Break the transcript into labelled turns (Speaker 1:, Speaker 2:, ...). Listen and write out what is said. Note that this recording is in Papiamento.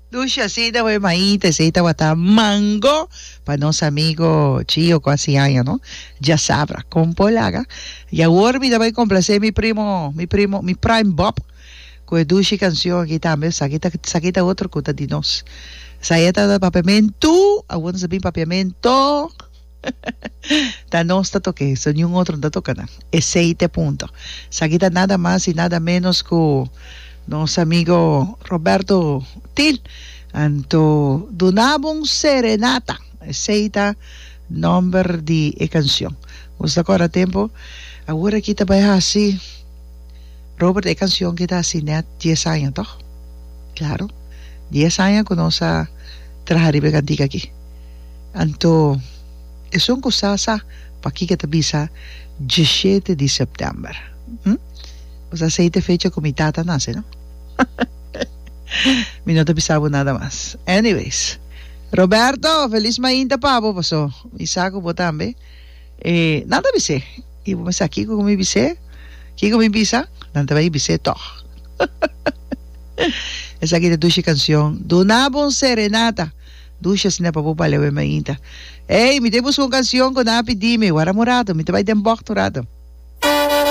Speaker 1: Dushi asina bo e maita esey tabata mango pa nos amigo Chio cu haci aña no djasabra con por laga y awor mi ta bay complace mi primo mi primo mi prime Bob cu e dushi cancion aki tambe esaki ta esaki ta otro cu ta di nos esaya tabata papiamentu awor nos a bin papiamento. Ta nos ta toke, so niun otro no ta toka nan. Esey ta e punto. Esaki ta nada mas y nada menos cu nos amigo Roberto Til. Anto duna bo un serenata. Esey ta nomber di e cancion. Nos ta corda tempo, awor aki ta bay haci, Robert e cancion ki ta haci net dies aña toch? Claro, dies aña cu nos a traha riba e cantica aki. Anto esun ku sa sa pakiko e ta bisa djeshete di sèptèmber. Hm? Bo sa esei ta e fecha ku mi tata nase, no? Mi no ta bisa bo nada mas. Anyways, Roberto, felis mainta pa bo, paso mi sa ku bo tambe. E nan ta bis'é. I bo mester sa kiko ku mi bis'é? Kiko mi bisa? Nan ta bai bis'é tòg. Esaki ta dushi kanshon. Duna bo un serenata. Dushi asina pa bo bale awe mainta. Ey, mi ta buska un cancion cu nan a pidi mi. Wara un rato, mi ta bay den bocht un rato.